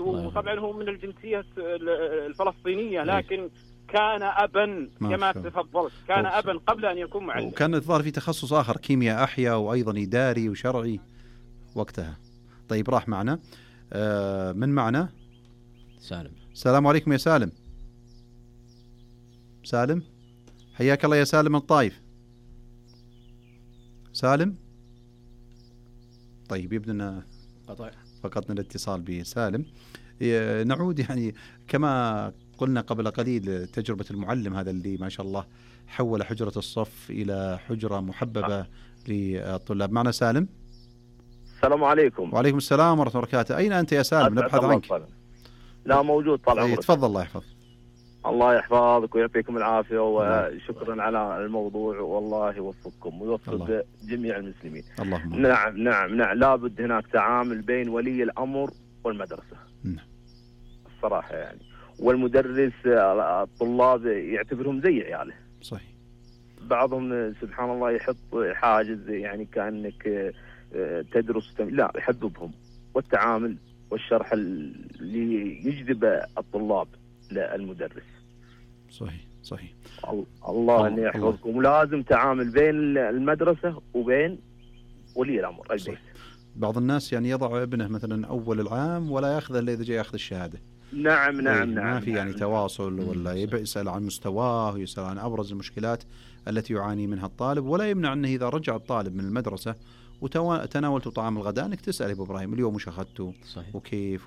وطبعا هو من الجنسية الفلسطينية، لكن كان أبا كما تفضلت، كان أبا قبل أن يكون معلم، وكان الظاهر في تخصص آخر كيمياء أحياء وأيضا إداري وشرعي وقتها. طيب راح معنا من معنا؟ سالم. السلام عليكم يا سالم. سالم حياك الله يا سالم من الطائف. سالم طيب يبدو فقدنا الاتصال بسالم. نعود يعني كما قلنا قبل قليل تجربة المعلم هذا اللي ما شاء الله حول حجرة الصف إلى حجرة محببة للطلاب. معنا سالم. السلام عليكم. وعليكم السلام ورحمة الله وبركاته. أين أنت يا سالم؟ نبحث عنك. لا موجود طال عمرك. تفضل. الله يحفظ. الله يحفظك ويعطيكم العافية، وشكرا على الموضوع، والله يوفقكم ويوفق جميع المسلمين. اللهم. نعم لابد هناك تعامل بين ولي الأمر والمدرسة. الصراحة يعني، والمدرس الطلاب يعتبرهم زي عياله. صحيح. بعضهم سبحان الله يحط حاجز يعني كأنك تدرس لا، يحببهم، والتعامل والشرح اللي يجذب الطلاب للمدرس. صحيح. الله أن يحفظكم. ولازم تعامل بين المدرسة وبين ولي الأمر البيت. بعض الناس يعني يضع ابنه مثلا أول العام ولا يأخذه إلا إذا جاء يأخذ الشهادة. نعم. ما في يعني تواصل، ولا يسأل عن مستواه ويسأل عن أبرز المشكلات التي يعاني منها الطالب، ولا يمنع أنه إذا رجع الطالب من المدرسة وتناولت طعام الغداء أنك تسأل أبو إبراهيم اليوم وش أخذته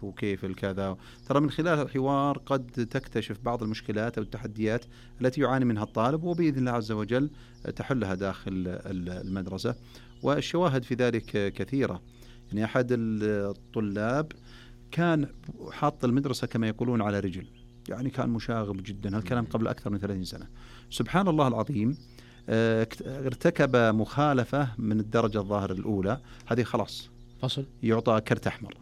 وكيف الكذا. ترى من خلال الحوار قد تكتشف بعض المشكلات أو التحديات التي يعاني منها الطالب، وبإذن الله عز وجل تحلها داخل المدرسة. والشواهد في ذلك كثيرة. يعني أحد الطلاب كان حاط المدرسة كما يقولون على رجل، يعني كان مشاغب جدا، هالكلام قبل أكثر من 30 سنة. سبحان الله العظيم ارتكب مخالفة من الدرجة الظاهر الأولى، هذه خلاص فصل يعطى كرت أحمر.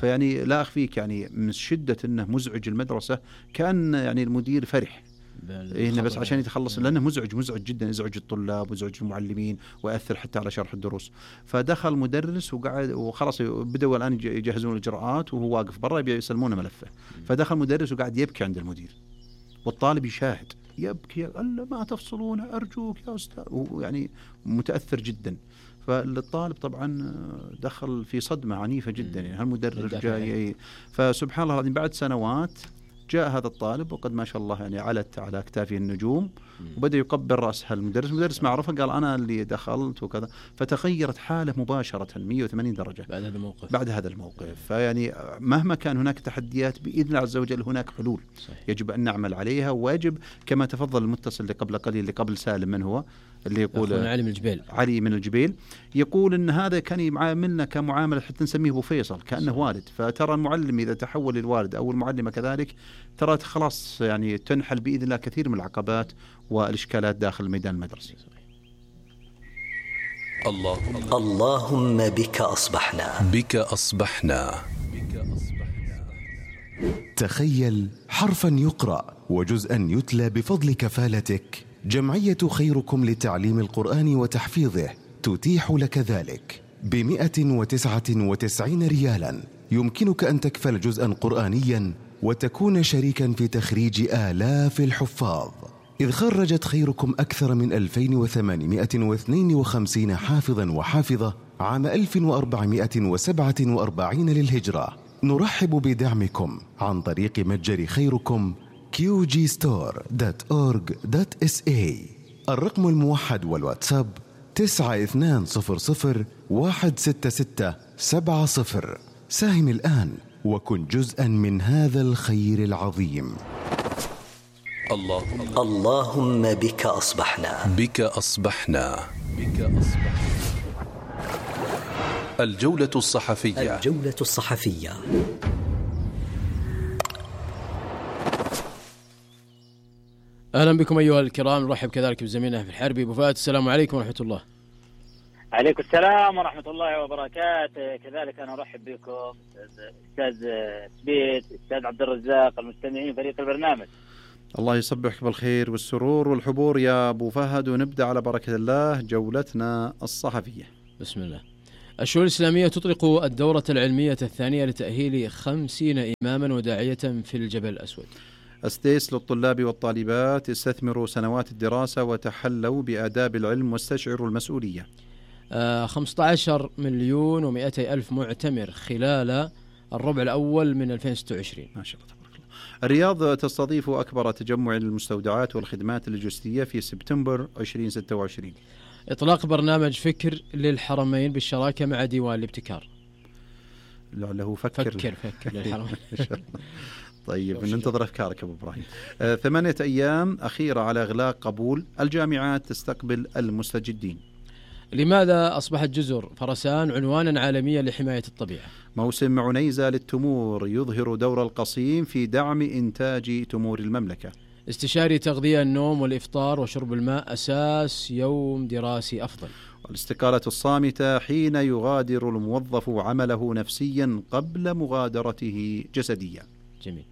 فيعني لا أخفيك يعني من شدة أنه مزعج المدرسة، كان يعني المدير فرح إنه بس عشان يتخلص، لأنه مزعج جدا، يزعج الطلاب ويزعج المعلمين ويأثر حتى على شرح الدروس. فدخل مدرس وقعد وخلاص بدأوا الآن يجهزون الإجراءات، وهو واقف برا يسلمونه ملفه. فدخل مدرس وقعد يبكي عند المدير، والطالب يشاهد يبكي، قال ما تفصلون أرجوك يا أستاذ، يعني متأثر جدا. فالطالب طبعا دخل في صدمة عنيفة جدا، يعني هالمدرس جاي. فسبحان الله العظيم بعد سنوات جاء هذا الطالب وقد ما شاء الله يعني علت على أكتافه النجوم، وبدأ يقبل رأس المدرس ما عرفه، قال أنا اللي دخلت وكذا. فتغيرت حاله مباشرة 180 درجة بعد هذا الموقف. فيعني مهما كان هناك تحديات بإذن الله عز وجل هناك حلول. صحيح. يجب أن نعمل عليها، ويجب كما تفضل المتصل اللي قبل قليل اللي قبل سالم، من هو اللي يقول علي من الجبيل، يقول إن هذا كان يعاملنا كمعاملة حتى نسميه أبو فيصل كأنه والد. فترى المعلم إذا تحول للوالد أو المعلمة كذلك، ترى خلاص يعني تنحل بإذن الله كثير من العقبات والإشكالات داخل الميدان المدرسي. اللهم بك أصبحنا. تخيل حرفا يقرأ وجزءا يتلى بفضل كفالتك. جمعية خيركم لتعليم القرآن وتحفيظه تتيح لك ذلك ب199 ريالا. يمكنك أن تكفل جزءا قرآنيا وتكون شريكا في تخريج آلاف الحفاظ، إذ خرجت خيركم أكثر من 2852 حافظا وحافظة عام 1447 للهجرة. نرحب بدعمكم عن طريق متجر خيركم qgstore.org.sa. الرقم الموحد والواتساب 9200166770. ساهم الآن وكن جزءا من هذا الخير العظيم. اللهم بك أصبحنا. الجولة الصحفية. أهلا بكم أيها الكرام. نرحب كذلك بزميلنا في الحربي أبو فهد. السلام عليكم ورحمة الله. عليكم السلام ورحمة الله وبركاته. كذلك أنا أرحب بكم أستاذ سبيت، أستاذ عبد الرزاق، المستمعين فريق البرنامج. الله يصبحك بالخير والسرور والحبور يا أبو فهد. ونبدأ على بركة الله جولتنا الصحفية. بسم الله. الشؤون الإسلامية تطلق الدورة العلمية الثانية لتأهيل 50 إماما وداعية في الجبل الأسود. أسديس للطلاب والطالبات: استثمروا سنوات الدراسة وتحلوا بآداب العلم واستشعروا المسؤولية. 15 مليون و200 ألف معتمر خلال الربع الأول من 2026. ما شاء الله تبارك الله. الرياض تستضيف أكبر تجمع للمستودعات والخدمات اللوجستية في سبتمبر 2026. إطلاق برنامج فكر للحرمين بالشراكة مع ديوان الابتكار. لعله فكر للحرمين. طيب ننتظر أفكارك أبو إبراهيم. 8 أيام أخيرة على إغلاق قبول، الجامعات تستقبل المستجدين. لماذا أصبحت جزر فرسان عنوانا عالميا لحماية الطبيعة؟ موسم عنيزة للتمور يظهر دور القصيم في دعم إنتاج تمور المملكة. استشاري تغذية، النوم والإفطار وشرب الماء أساس يوم دراسي أفضل. والاستقالة الصامتة حين يغادر الموظف عمله نفسيا قبل مغادرته جسديا. جميل.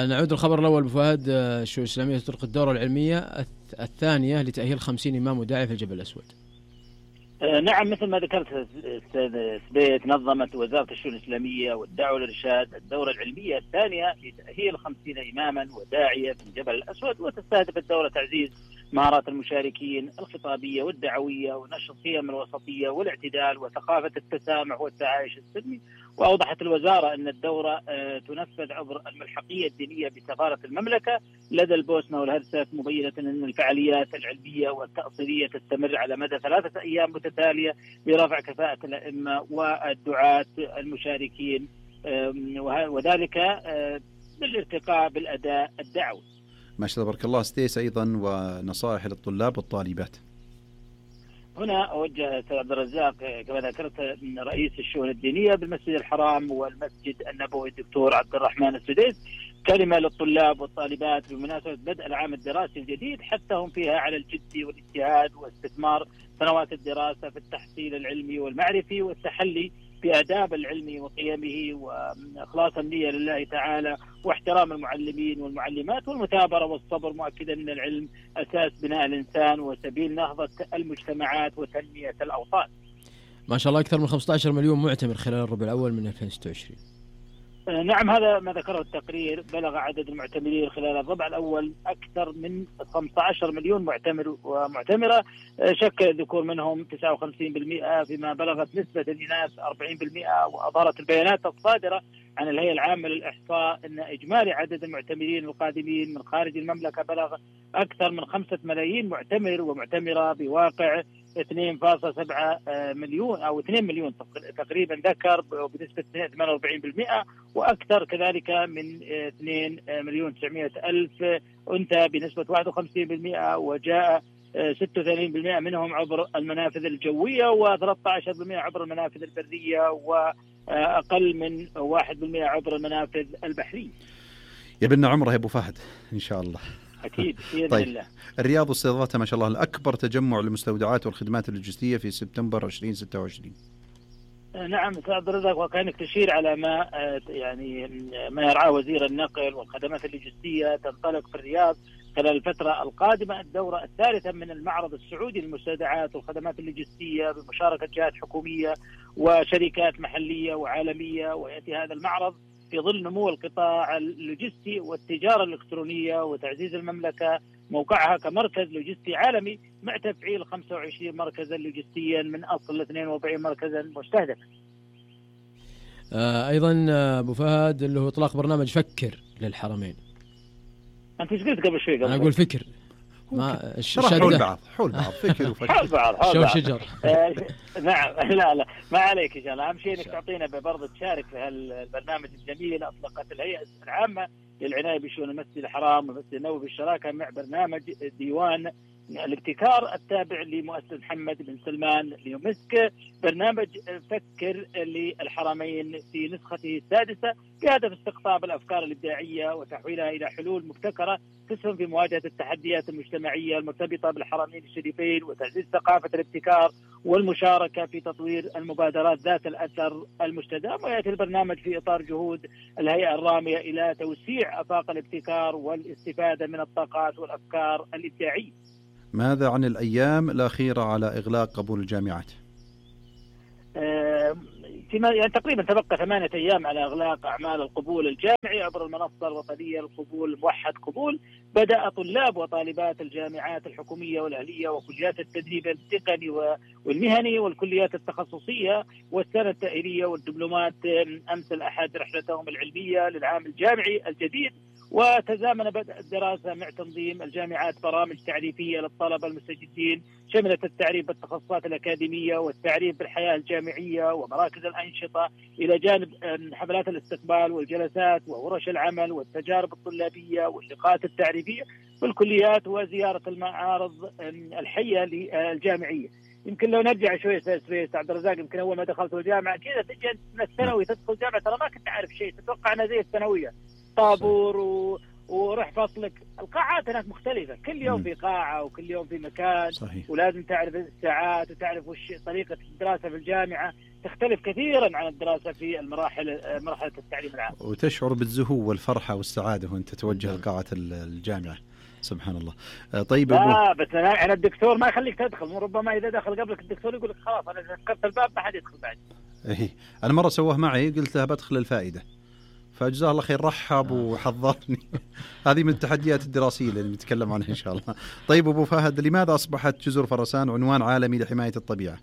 نعود الخبر الأول بفهد. الشؤون الإسلامية تطلق الدورة العلمية الثانية لتأهيل 50 إمام وداعي في الجبل الأسود. نعم، مثل ما ذكرت أستاذ سبيت، نظمت وزارة الشؤون الإسلامية والدعوة والإرشاد الدورة العلمية الثانية لتأهيل 50 إماما وداعية في الجبل الأسود، وتستهدف الدورة تعزيز مهارات المشاركين الخطابية والدعوية ونشر قيم الوسطية والاعتدال وثقافة التسامح والتعايش السلمي. وأوضحت الوزارة أن الدورة تنفذ عبر الملحقية الدينية بسفارة المملكة لدى البوسنة والهرسك، مبينة أن الفعاليات العلمية والتأصيلية تستمر على مدى 3 أيام متتالية لرفع كفاءة الأئمة والدعاة المشاركين، وذلك بالارتقاء بالأداء الدعوي. ما شاء الله تبارك الله. ستيس أيضا ونصائح للطلاب والطالبات. هنا أوجه سيد عبد الرزاق كما ذكرت رئيس الشؤون الدينية بالمسجد الحرام والمسجد النبوي الدكتور عبد الرحمن السديس كلمة للطلاب والطالبات بمناسبة بدء العام الدراسي الجديد، حثهم فيها على الجد والاجتهاد واستثمار سنوات الدراسة في التحصيل العلمي والمعرفي والتحلي بآداب العلم وقيمه وإخلاص النية لله تعالى واحترام المعلمين والمعلمات والمثابرة والصبر، مؤكدا أن العلم أساس بناء الإنسان وسبيل نهضة المجتمعات وتنمية الأوطان. ما شاء الله أكثر من 15 مليون معتمر خلال الربع الأول من 2026. نعم، هذا ما ذكره التقرير. بلغ عدد المعتمرين خلال الربع الأول أكثر من 15 مليون معتمر ومعتمرة، شكل الذكور منهم 59%، فيما بلغت نسبة الإناث 40%. وأظهرت البيانات الصادرة عن الهيئة العامة للإحصاء أن إجمالي عدد المعتمرين القادمين من خارج المملكة بلغ أكثر من 5 ملايين معتمر ومعتمرة، بواقع 2.7 مليون أو 2 مليون تقريبا ذكر بنسبة 48%، وأكثر كذلك من 2 مليون 900 ألف أنثى بنسبة 51%، وجاء 86% منهم عبر المنافذ الجوية و13% عبر المنافذ البرية وأقل من 1% عبر المنافذ البحرية. يبنى عمره يا أبو فهد إن شاء الله. أكيد بإذن طيب. الله. الرياض استضافتها ما شاء الله الأكبر تجمع للمستودعات والخدمات اللوجستية في سبتمبر 2026. نعم سيد عبد الرزاق، وكانك تشير على ما ما يرعاه وزير النقل والخدمات اللوجستية. تنطلق في الرياض خلال الفترة القادمة الدورة الثالثة من المعرض السعودي للمستودعات والخدمات اللوجستية بمشاركة جهات حكومية وشركات محلية وعالمية. ويأتي هذا المعرض في ظل نمو القطاع اللوجستي والتجارة الإلكترونية وتعزيز المملكة موقعها كمركز لوجستي عالمي مع تفعيل 25 مركزا لوجستيا من أصل 42 مركزا مستهدفا. أيضا أبو فهد اللي هو إطلاق برنامج فكر للحرمين. أنت إيش قلت قبل شوي؟ أنا أقول فكر. ما حول بعض فكر وفكر حول بعض شو شجر. نعم لا ما عليك إن شاء الله. أهم شيء إنك تعطينا برضه تشارك في هالبرنامج الجميل. أطلقت الهيئة العامة للعناية بشؤون المسجد الحرام والمسجد النبوي بالشراكة مع برنامج ديوان الابتكار التابع لمؤسسة محمد بن سلمان ليومسك، برنامج فكر للحرمين في نسخته السادسة بهدف استقطاب الأفكار الإبداعية وتحويلها إلى حلول مبتكرة تسهم في مواجهة التحديات المجتمعية المرتبطة بالحرمين الشريفين وتعزيز ثقافة الابتكار والمشاركة في تطوير المبادرات ذات الأثر المستدام. ويأتي البرنامج في إطار جهود الهيئة الرامية إلى توسيع آفاق الابتكار والاستفادة من الطاقات والأفكار الإبداعية. ماذا عن الأيام الأخيرة على إغلاق قبول الجامعات؟ يعني تقريبا تبقى 8 أيام على إغلاق أعمال القبول الجامعي عبر المنصة الوطنية للقبول موحد قبول. بدأ طلاب وطالبات الجامعات الحكومية والأهلية وكليات التدريب التقني والمهني والكليات التخصصية والسنة التأهيلية والدبلومات أمس الأحد رحلتهم العلمية للعام الجامعي الجديد. وتزامن بدء الدراسة مع تنظيم الجامعات برامج تعريفية للطلبة المستجدين شملت التعريف بالتخصصات الأكاديمية والتعريف بالحياة الجامعية ومراكز الأنشطة، إلى جانب حفلات الاستقبال والجلسات وورش العمل والتجارب الطلابية واللقاءات التعريفية بالكليات وزيارة المعارض الحية للجامعية. يمكن لو نرجع شوي سويس عبد الرزاق، يمكن أول ما دخلت الجامعة كذا تجي من الثانوي تدخل الجامعة ترى ما كنت عارف شيء، تتوقع أنها زي الثانوية طابور وروح فصلك. القاعات هناك مختلفة، كل يوم في قاعة وكل يوم في مكان. صحيح. ولازم تعرف الساعات وتعرف وش طريقة الدراسة في الجامعة تختلف كثيرا عن الدراسة في مرحلة التعليم العام. وتشعر بالزهو والفرحة والسعادة وانت توجه لقاعة الجامعة. سبحان الله. طيب بس أنا الدكتور ما يخليك تدخل، ربما إذا دخل قبلك الدكتور يقول لك خلاص أنا ذكرت الباب ما حد يدخل بعد. أنا مرة سواه معي، قلت له بدخل الفائدة فجزاه الله خير رحب وحضرني. هذه من التحديات الدراسية اللي نتكلم عنها إن شاء الله. طيب أبو فهد، لماذا أصبحت جزر فرسان عنوان عالمي لحماية الطبيعة؟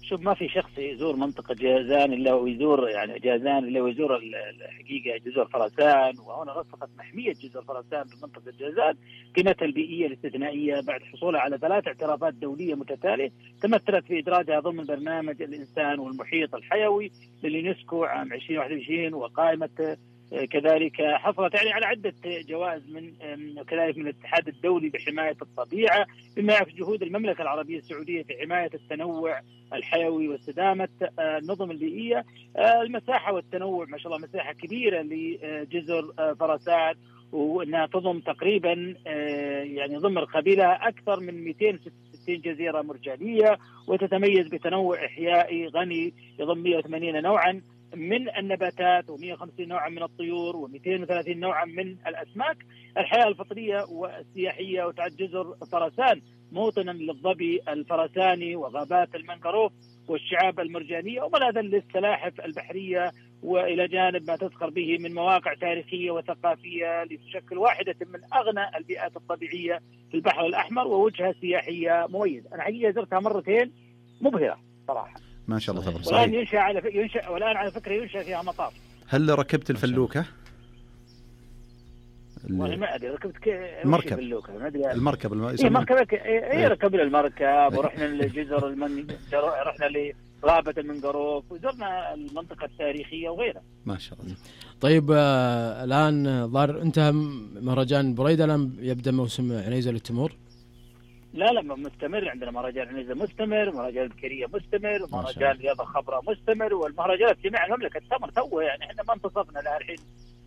شوف، ما في شخص يزور منطقة جازان إلا ويزور يعني جازان إلا ويزور الحقيقة جزر فرسان. وهنا رسخت محمية جزر فرسان بمنطقة جازان قيمتها البيئية الاستثنائية بعد حصولها على 3 اعترافات دولية متتالية تمثلت في إدراجها ضمن برنامج الإنسان والمحيط الحيوي لليونسكو عام 2021. وقائمة كذلك حصلت يعني على عدة جوائز كذلك من الاتحاد الدولي بحماية الطبيعة، بما يعكس جهود المملكة العربية السعودية في حماية التنوع الحيوي واستدامة النظم البيئية. المساحة والتنوع ما شاء الله مساحة كبيرة لجزر فرسان، وأنها تضم تقريبا يعني ضمن قبيلة أكثر من 266 جزيرة مرجانية، وتتميز بتنوع إحيائي غني يضم 180 نوعا من النباتات و150 نوعا من الطيور و230 نوعا من الأسماك. الحياة الفطرية والسياحية، وتعد جزر فرسان موطنا للظبي الفرساني وغابات المنغروف والشعاب المرجانية وملاذا للسلاحف البحرية، وإلى جانب ما تذكر به من مواقع تاريخية وثقافية لتشكل واحدة من أغنى البيئات الطبيعية في البحر الأحمر ووجهة سياحية مميزة. أنا حقيقة زرتها مرتين مبهرة صراحة ما شاء الله تبارك. والآن على فكرة ينشأ فيها مطار. هل ركبت الفلوكة؟ ما أدري ركبت المركب. المركب ركبنا المركب ورحنا لجزر رحنا لغابة المنغروف وزرنا المنطقة التاريخية وغيرها. ما شاء الله. طيب الآن ظهر انتهى مهرجان بريدة، الآن يبدأ موسم عنيزة للتمور. لا مستمر، عندنا مهرجان عنيزة مستمر، مهرجان البكرية مستمر، مهرجان رياضة خضراء مستمر، والمهرجانات جميع المملكة تستمر توه. يعني احنا ما انتصفنا لها الحين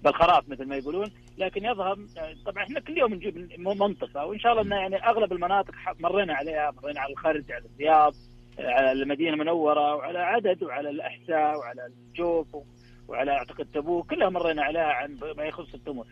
بالخراف مثل ما يقولون، لكن يظهر طبعا احنا كل يوم نجيب منطقة، وان شاء الله ان يعني اغلب المناطق مرينا عليها، مرينا على الخرج، على الرياض، على المدينة المنورة، وعلى عدد، وعلى الأحساء، وعلى الجوف، وعلى اعتقد تبوك، كلها مرينا عليها عن ما يخص التمور.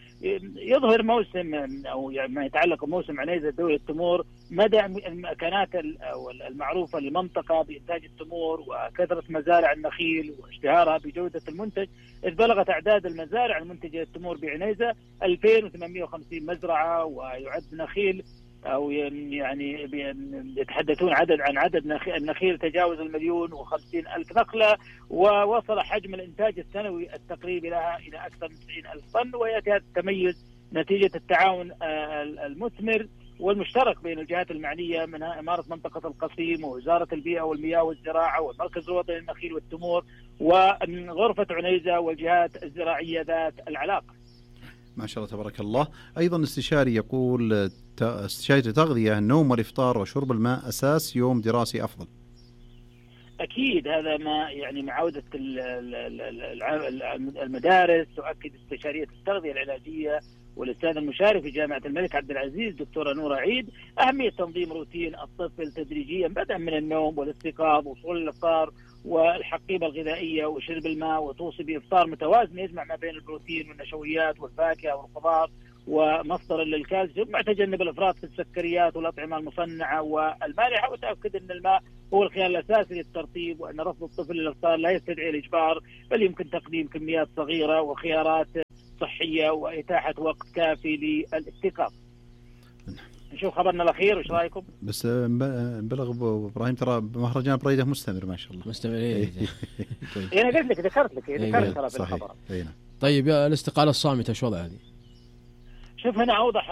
يظهر موسم او يعني ما يتعلق بموسم عنيزة دولة التمور مدى المكانات او المعروفة للمنطقة بإنتاج التمور وكثرة مزارع النخيل واشتهارها بجودة المنتج، إذ بلغت أعداد المزارع المنتجة للتمور بعنيزة 2850 مزرعة، ويعد نخيل أو يعني يتحدثون عن عدد النخيل تجاوز 1,050,000 نخلة، ووصل حجم الإنتاج السنوي التقريبي لها إلى أكثر من 90,000 طن. ويأتي هذا التميز نتيجة التعاون المثمر والمشترك بين الجهات المعنية، منها إمارة منطقة القصيم ووزارة البيئة والمياه والزراعة والمركز الوطني للنخيل والتمور وغرفة عنيزة والجهات الزراعية ذات العلاقة. ما شاء الله تبارك الله. أيضا استشاري يقول استشاري التغذية: النوم والإفطار وشرب الماء أساس يوم دراسي أفضل. أكيد هذا ما يعني مع عودة المدارس تؤكد استشارية التغذية العلاجية والأستاذ المشارك في جامعة الملك عبد العزيز دكتورة نورة عيد أهمية تنظيم روتين الطفل تدريجيا بدءا من النوم والاستيقاظ وصول الإفطار والحقيبة الغذائية وشرب الماء، وتوصي بإفطار متوازن يجمع ما بين البروتين والنشويات والفاكهة والخضار ومصدر للكالسيوم، مع تجنب الافراط في السكريات والاطعمه المصنعه والمالحه، وتاكد ان الماء هو الخيار الاساسي للترطيب، وان رفض الطفل للافطار لا يستدعي الاجبار، بل يمكن تقديم كميات صغيره وخيارات صحيه واتاحه وقت كافي للاستيقاظ. نشوف خبرنا الاخير، وش رايكم؟ بس بلغ ابو ابراهيم ترى مهرجان بريده مستمر ما شاء الله. مستمر. انا قلت لك ذكرت ترى في الخبر. طيب يا الاستقاله الصامته شو وضعها هذه؟ شوف هنا أوضح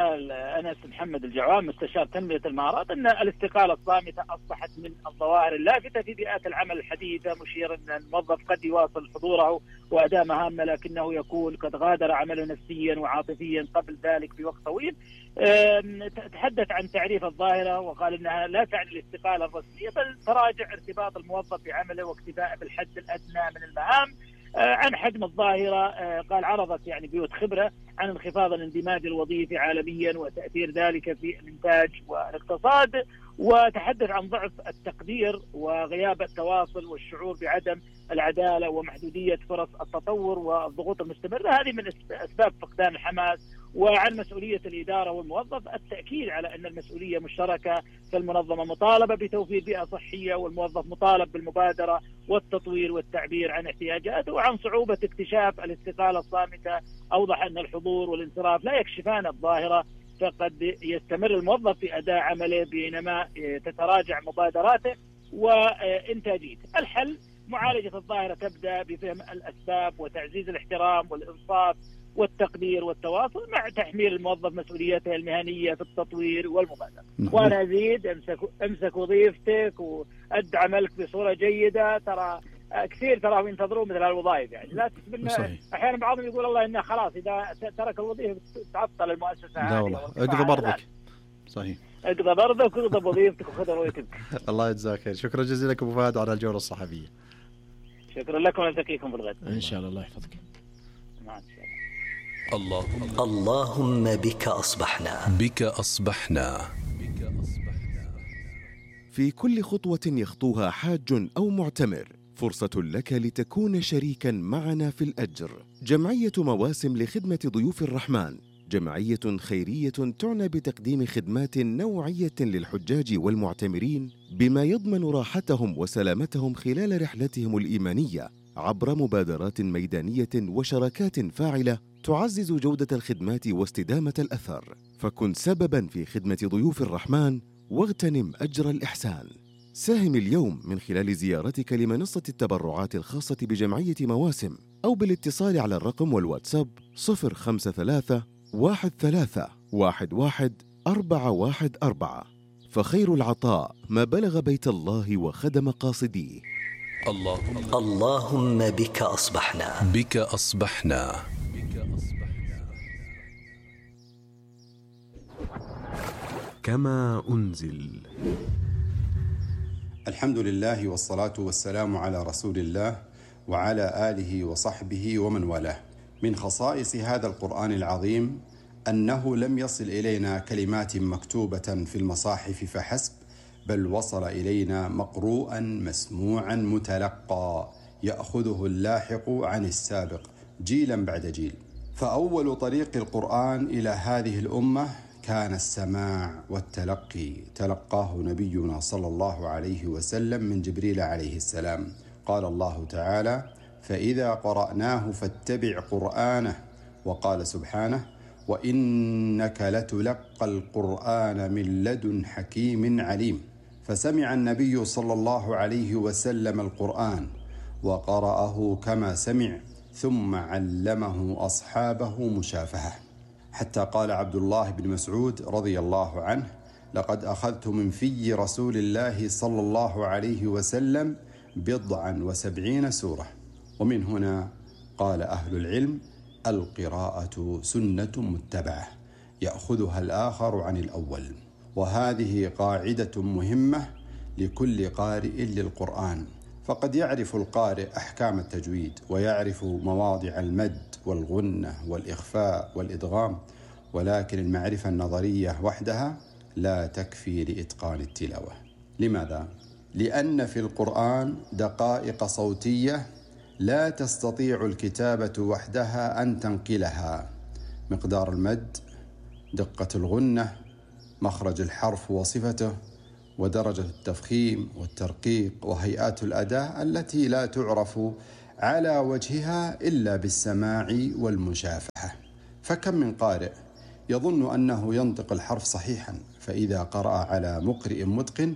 أنس محمد الجعوان مستشار تنمية المهارات أن الاستقالة الصامتة أصبحت من الظواهر اللافتة في بيئات العمل الحديثة، مشيرا أن الموظف قد يواصل حضوره وأداء مهامه لكنه يكون قد غادر عمله نفسيا وعاطفيا قبل ذلك بوقت طويل. تحدث عن تعريف الظاهرة وقال أنها لا تعني الاستقالة الرسمية، بل تراجع ارتباط الموظف بعمله واكتفاءه بالحد الأدنى من المهام. عن حجم الظاهرة قال عرضت يعني بيوت خبرة عن انخفاض الاندماج الوظيفي عالميا وتأثير ذلك في الإنتاج والاقتصاد، وتحدث عن ضعف التقدير وغياب التواصل والشعور بعدم العدالة ومحدودية فرص التطور والضغوط المستمرة، هذه من أسباب فقدان الحماس. وعن مسؤولية الإدارة والموظف التأكيد على أن المسؤولية مشتركة، فالمنظمة مطالبة بتوفير بيئة صحية والموظف مطالب بالمبادرة والتطوير والتعبير عن احتياجاته. وعن صعوبة اكتشاف الاستقالة الصامتة أوضح أن الحضور والانصراف لا يكشفان الظاهرة، فقد يستمر الموظف في أداء عمله بينما تتراجع مبادراته وإنتاجيته. الحل معالجة الظاهرة تبدأ بفهم الأسباب وتعزيز الاحترام والإنصاف والتقدير والتواصل، مع تحميل الموظف مسؤوليته المهنية في التطوير والمبادرة. وأنا أزيد امسك وظيفتك وأد عملك بصورة جيدة. ترى كثير ترى ينتظرون مثل هالوظائف، يعني لا تسبنا. أحيانا بعضهم يقول الله إنه خلاص إذا ترك الوظيفة تعطل المؤسسة. لا والله اقضي برضك. صحيح، اقضي برضك واقضي بوظيفتك وخذ رؤيتك. الله يجزاك خير. شكرا جزيلا لك أبو فهد على الجولة الصحفية. شكرا لكم ونلتقيكم في الغد إن شاء الله. الله يحفظك. مع السلامة. اللهم بك أصبحنا. بك أصبحنا. في كل خطوة يخطوها حاج أو معتمر فرصة لك لتكون شريكا معنا في الأجر. جمعية مواسم لخدمة ضيوف الرحمن جمعية خيرية تعنى بتقديم خدمات نوعية للحجاج والمعتمرين بما يضمن راحتهم وسلامتهم خلال رحلتهم الإيمانية عبر مبادرات ميدانية وشراكات فاعلة تعزز جودة الخدمات واستدامة الأثر. فكن سبباً في خدمة ضيوف الرحمن واغتنم أجر الإحسان. ساهم اليوم من خلال زيارتك لمنصة التبرعات الخاصة بجمعية مواسم أو بالاتصال على الرقم والواتساب 053 13 11 414. فخير العطاء ما بلغ بيت الله وخدم قاصديه. اللهم بك أصبحنا. بك أصبحنا. كما أنزل. الحمد لله والصلاة والسلام على رسول الله وعلى آله وصحبه ومن والاه. من خصائص هذا القرآن العظيم أنه لم يصل إلينا كلمات مكتوبة في المصاحف فحسب، بل وصل إلينا مقروءا مسموعا متلقى يأخذه اللاحق عن السابق جيلا بعد جيل. فأول طريق القرآن إلى هذه الأمة كان السماع والتلقي، تلقاه نبينا صلى الله عليه وسلم من جبريل عليه السلام. قال الله تعالى: فإذا قرأناه فاتبع قرآنه. وقال سبحانه: وإنك لتلقى القرآن من لدن حكيم عليم. فسمع النبي صلى الله عليه وسلم القرآن وقرأه كما سمع، ثم علمه أصحابه مشافهة، حتى قال عبد الله بن مسعود رضي الله عنه: لقد أخذت من في رسول الله صلى الله عليه وسلم 70 سورة. ومن هنا قال أهل العلم: القراءة سنة متبعة يأخذها الآخر عن الأول. وهذه قاعدة مهمة لكل قارئ للقرآن، فقد يعرف القارئ أحكام التجويد ويعرف مواضع المد والغنة والإخفاء والإدغام، ولكن المعرفة النظرية وحدها لا تكفي لإتقان التلاوة. لماذا؟ لأن في القرآن دقائق صوتية لا تستطيع الكتابة وحدها أن تنقلها. مقدار المد، دقة الغنة، مخرج الحرف وصفته، ودرجة التفخيم والترقيق، وهيئات الأداء التي لا تعرف على وجهها إلا بالسماع والمشافهة. فكم من قارئ يظن أنه ينطق الحرف صحيحا، فإذا قرأ على مقرئ متقن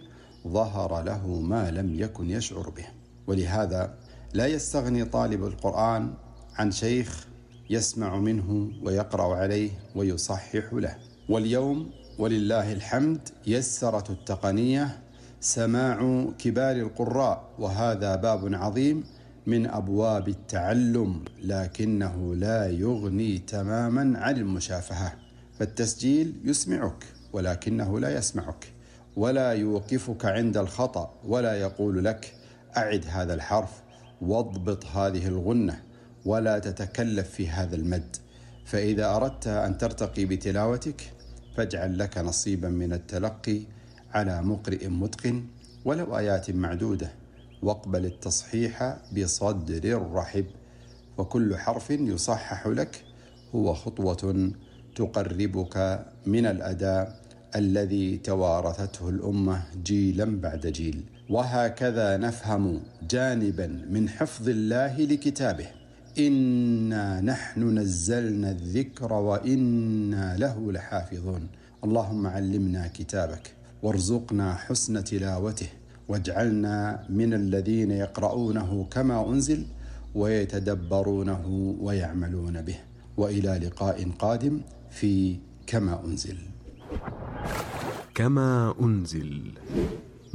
ظهر له ما لم يكن يشعر به. ولهذا لا يستغني طالب القرآن عن شيخ يسمع منه ويقرأ عليه ويصحح له. واليوم ولله الحمد يسرت التقنية سماع كبار القراء، وهذا باب عظيم من أبواب التعلم، لكنه لا يغني تماما عن المشافهة. فالتسجيل يسمعك ولكنه لا يسمعك، ولا يوقفك عند الخطأ، ولا يقول لك أعد هذا الحرف واضبط هذه الغنة، ولا تتكلف في هذا المد. فإذا أردت أن ترتقي بتلاوتك فاجعل لك نصيبا من التلقي على مقرئ متقن ولو آيات معدودة، واقبل التصحيح بصدر رحب، وكل حرف يصحح لك هو خطوة تقربك من الأداء الذي توارثته الأمة جيلا بعد جيل. وهكذا نفهم جانبا من حفظ الله لكتابه: إنا نحن نزلنا الذكر وإنا له لحافظون. اللهم علمنا كتابك وارزقنا حسن تلاوته، واجعلنا من الذين يقرؤونه كما أنزل ويتدبرونه ويعملون به. وإلى لقاء قادم في كما أنزل. كما أنزل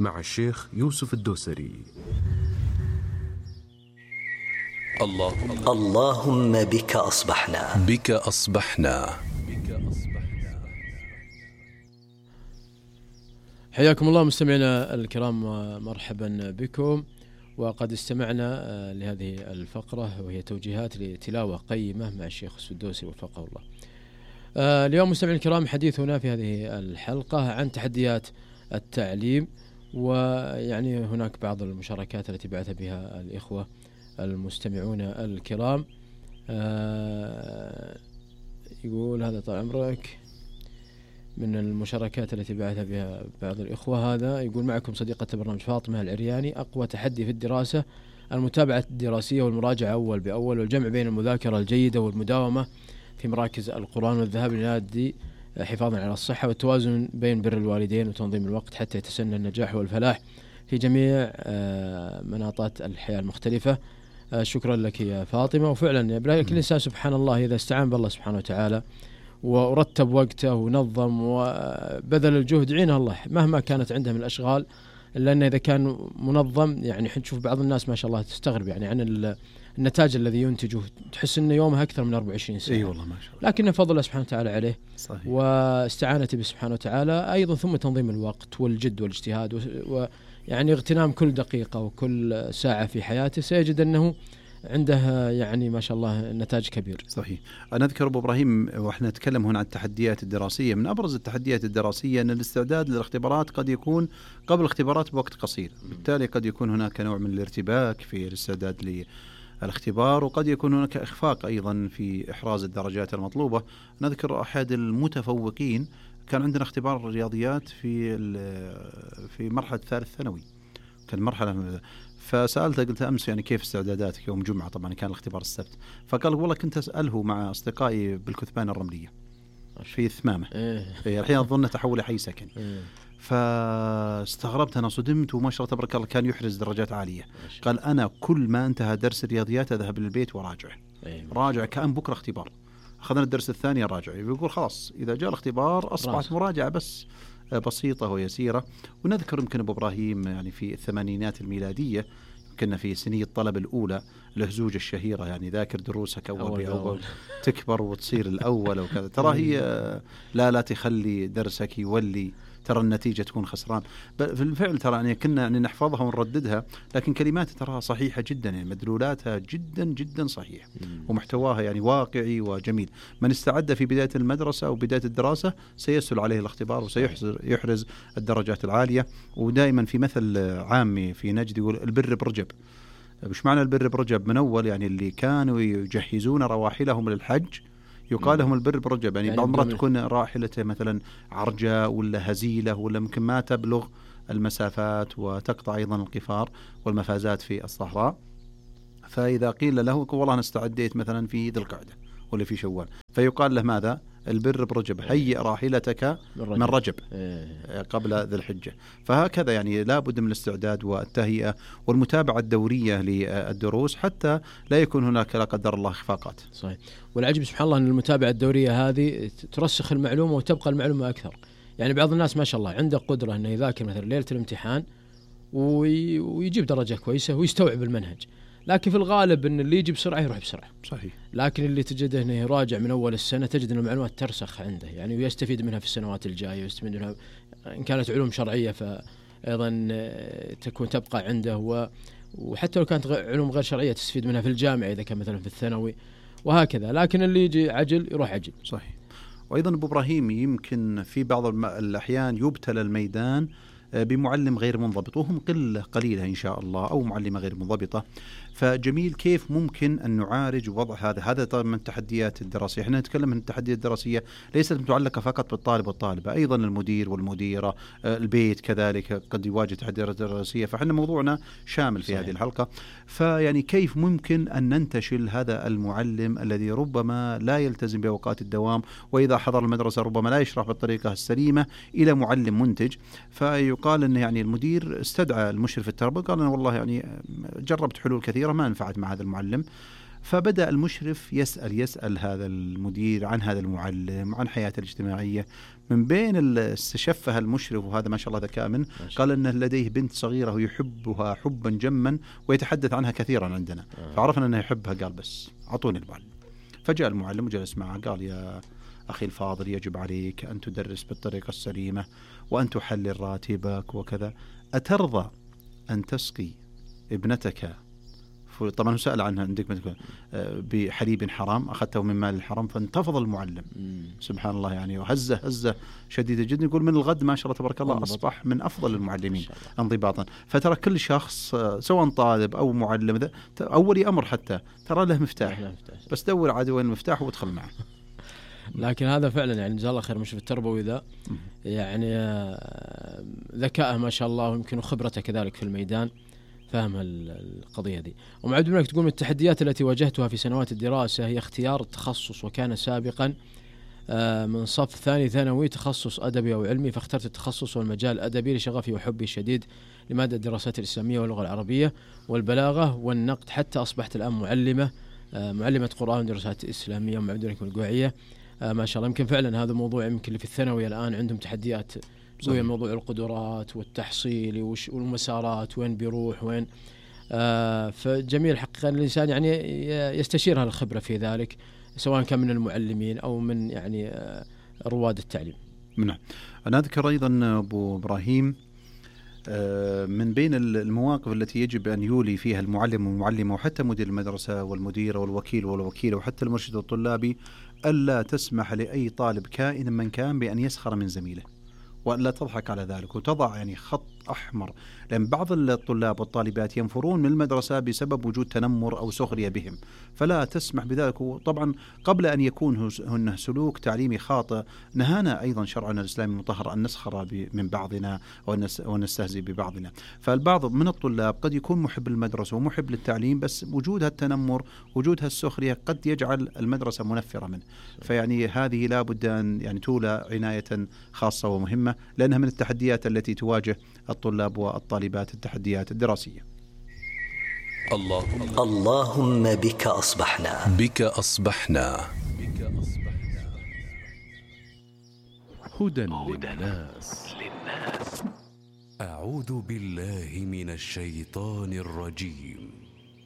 مع الشيخ يوسف الدوسري. اللهم بك أصبحنا. بك أصبحنا. حياكم الله مستمعينا الكرام، مرحبا بكم. وقد استمعنا لهذه الفقرة وهي توجيهات لتلاوة قيمة مع الشيخ السدوسي وفقه الله. اليوم مستمعينا الكرام حديثنا في هذه الحلقة عن تحديات التعليم، ويعني هناك بعض المشاركات التي بعث بها الإخوة المستمعون الكرام. يقول هذا طال عمرك من المشاركات التي بعث بها بعض الإخوة، هذا يقول: معكم صديقة البرنامج فاطمة العرياني. أقوى تحدي في الدراسة المتابعة الدراسية والمراجعة أول بأول، والجمع بين المذاكرة الجيدة والمداومة في مراكز القرآن، والذهاب للنادي حفاظا على الصحة، والتوازن بين بر الوالدين وتنظيم الوقت حتى يتسنى النجاح والفلاح في جميع مناطات الحياة المختلفة. شكرا لك يا فاطمة. وفعلا كل إنسان سبحان الله إذا استعان بالله سبحانه وتعالى ورتب وقته ونظم وبذل الجهد عينه الله مهما كانت عنده من الأشغال، لأن إذا كان منظم يعني نشوف بعض الناس ما شاء الله تستغرب يعني عن النتاج الذي ينتجه، تحس إنه يومه أكثر من 24 ساعة. أي والله ما شاء الله. لكن فضل الله سبحانه وتعالى عليه صحيح. واستعانته به سبحانه وتعالى أيضا، ثم تنظيم الوقت والجد والاجتهاد ويعني اغتنام كل دقيقة وكل ساعة في حياته، سيجد أنه عنده يعني ما شاء الله نتاج كبير. صحيح. أنا أذكر أبو إبراهيم وإحنا نتكلم هنا عن التحديات الدراسية، من أبرز التحديات الدراسية أن الاستعداد للاختبارات قد يكون قبل الاختبارات بوقت قصير، بالتالي قد يكون هناك نوع من الارتباك في الاستعداد للاختبار، وقد يكون هناك إخفاق أيضا في إحراز الدرجات المطلوبة. نذكر أحد المتفوقين كان عندنا اختبار الرياضيات في مرحلة ثالث ثانوي، كان مرحلة، فسألته قلت أمس يعني كيف استعداداتك يوم جمعة، طبعا كان الاختبار السبت، فقال والله كنت أسأله مع أصدقائي بالكثبان الرملية في ثمامة. الحين أظن تحول حي سكن. فاستغربت أنا، صدمت، وما شاء الله تبارك الله كان يحرز درجات عالية. قال أنا كل ما انتهى درس الرياضيات أذهب للبيت وراجع، راجع كأن بكرة اختبار. أخذنا الدرس الثاني راجع، يقول خلاص إذا جاء الاختبار أصبحت مراجعة بس بسيطة ويسيرة. ونذكر يمكن أبو إبراهيم يعني في الثمانينات الميلادية كنا في سنية الطلب الأولى الهزوج الشهيرة، يعني ذاكر دروسك أول بأول تكبر وتصير الأول وكذا. ترى هي لا تخلي درسك يولي، ترى النتيجة تكون خسران. بالفعل ترى يعني كنا يعني نحفظها ونرددها، لكن كلماتها تراها صحيحة جدا، يعني مدلولاتها جدا جدا صحيح، ومحتواها يعني واقعي وجميل. من استعد في بداية المدرسة أو بداية الدراسة سيسهل عليه الاختبار وسيحرز الدرجات العالية. ودائما في مثل عامي في نجد يقول البر برجب. مش معنى البر برجب؟ من أول يعني اللي كانوا يجهزون رواحلهم للحج يقال لهم البر برجب، يعني بعض المرات تكون راحلته مثلا عرجة ولا هزيلة ولا ممكن ما تبلغ المسافات وتقطع أيضا القفار والمفازات في الصحراء، فإذا قيل له والله أنا استعديت مثلا في ذي القعدة ولا في شوال، فيقال له ماذا؟ البر برجب، هيئ راحلتك من رجب قبل ذي الحجة. فهكذا يعني لا بد من الاستعداد والتهيئة والمتابعة الدورية للدروس حتى لا يكون هناك لا قدر الله إخفاقات. صحيح. والعجب سبحان الله أن المتابعة الدورية هذه ترسخ المعلومة وتبقى المعلومة أكثر. يعني بعض الناس ما شاء الله عنده قدرة أنه يذاكر مثلا ليلة الامتحان ويجيب درجة كويسة ويستوعب المنهج، لكن في الغالب أن اللي يجي بسرعة يروح بسرعة. صحيح. لكن اللي تجده أنه يراجع من أول السنة تجد أن المعلومات ترسخ عنده، يعني ويستفيد منها في السنوات الجاية، ويستفيد منها إن كانت علوم شرعية فأيضا تبقى عنده، وحتى لو كانت علوم غير شرعية تستفيد منها في الجامعة إذا كان مثلا في الثانوي وهكذا. لكن اللي يجي عجل يروح عجل. صحيح. وأيضا أبو إبراهيم يمكن في بعض الأحيان يبتلى الميدان بمعلم غير منضبط، وهم قليلة إن شاء الله، أو معلمة غير منضبطة. فجميل كيف ممكن أن نعالج وضع هذا طبعا من التحديات الدراسية. احنا نتكلم عن التحديات الدراسية ليست متعلقة فقط بالطالب والطالبة، أيضا المدير والمديرة، البيت كذلك قد يواجه تحديات دراسية. فإحنا موضوعنا شامل في هذه الحلقة. فيعني كيف ممكن أن ننتشل هذا المعلم الذي ربما لا يلتزم بأوقات الدوام، وإذا حضر المدرسة ربما لا يشرح بالطريقة السليمة، إلى معلم منتج. فيقال أن يعني المدير استدعى المشرف التربوي قال أنا والله يعني جربت حلول كثيرة ما نفعت مع هذا المعلم. فبدأ المشرف يسأل هذا المدير عن هذا المعلم، عن حياته الاجتماعية. من بين استشفها المشرف، وهذا ما شاء الله ذكاء منه، قال أنه لديه بنت صغيرة يحبها حبا جما ويتحدث عنها كثيرا عندنا. فعرفنا أنه يحبها، قال بس أعطوني المعلم. فجاء المعلم وجلس معه قال يا أخي الفاضل يجب عليك أن تدرس بالطريقة السليمة وأن تحلل راتبك وكذا. أترضى أن تسقي ابنتك، طبعا سأل عنها عندك بحليب حرام أخذته من مال الحرام؟ فانتفض المعلم سبحان الله يعني، وهزة شديدة جدا. يقول من الغد ما شاء الله تبارك الله أصبح من أفضل المعلمين انضباطا. فترى كل شخص سواء طالب أو معلم أولي أمر حتى ترى له مفتاح، بس دور عاد وين المفتاح وادخل معه. لكن هذا فعلا يعني جزاه الله خير مشرف التربوي ذا، يعني ذكاءه ما شاء الله، ويمكن خبرته كذلك في الميدان، فهم القضية دي. ومعد بنك تقول من التحديات التي واجهتها في سنوات الدراسة هي اختيار التخصص، وكان سابقا من صف ثاني ثانوي تخصص أدبي أو علمي، فاخترت التخصص والمجال الأدبي لشغفي وحبي الشديد لمادة الدراسات الإسلامية واللغة العربية والبلاغة والنقد، حتى أصبحت الآن معلمة قرآن ودراسات إسلامية ومعد بنك القوعية ما شاء الله. يمكن فعلا هذا موضوع يمكن اللي في الثانوي الآن عندهم تحديات قوية، موضوع القدرات والتحصيل والمسارات وين بيروح وين. فجميل حقيقة الإنسان يعني يستشير الخبرة في ذلك، سواء كان من المعلمين أو من يعني رواد التعليم. نعم. أنا أذكر أيضا أبو إبراهيم من بين المواقف التي يجب أن يولي فيها المعلم والمعلمة وحتى مدير المدرسة والمدير والوكيل والوكيلة وحتى المرشد الطلابي ألا تسمح لأي طالب كائن من كان بأن يسخر من زميله، ولا تضحك على ذلك وتضع يعني خط أحمر. لأن بعض الطلاب والطالبات ينفرون من المدرسة بسبب وجود تنمر أو سخرية بهم، فلا تسمح بذلك. وطبعا قبل أن يكون هناك سلوك تعليمي خاطئ، نهانا أيضا شرعنا الإسلامي المطهر أن نسخر من بعضنا ونستهزئ ببعضنا. فالبعض من الطلاب قد يكون محب للمدرسة ومحب للتعليم، بس وجود التنمر وجود السخرية قد يجعل المدرسة منفرة منه. فيعني هذه لا بد أن يعني تولى عناية خاصة ومهمة، لأنها من التحديات التي تواجه الطلاب والطالبات، التحديات الدراسية. اللهم بك أصبحنا هدى للناس. أعوذ بالله من الشيطان الرجيم.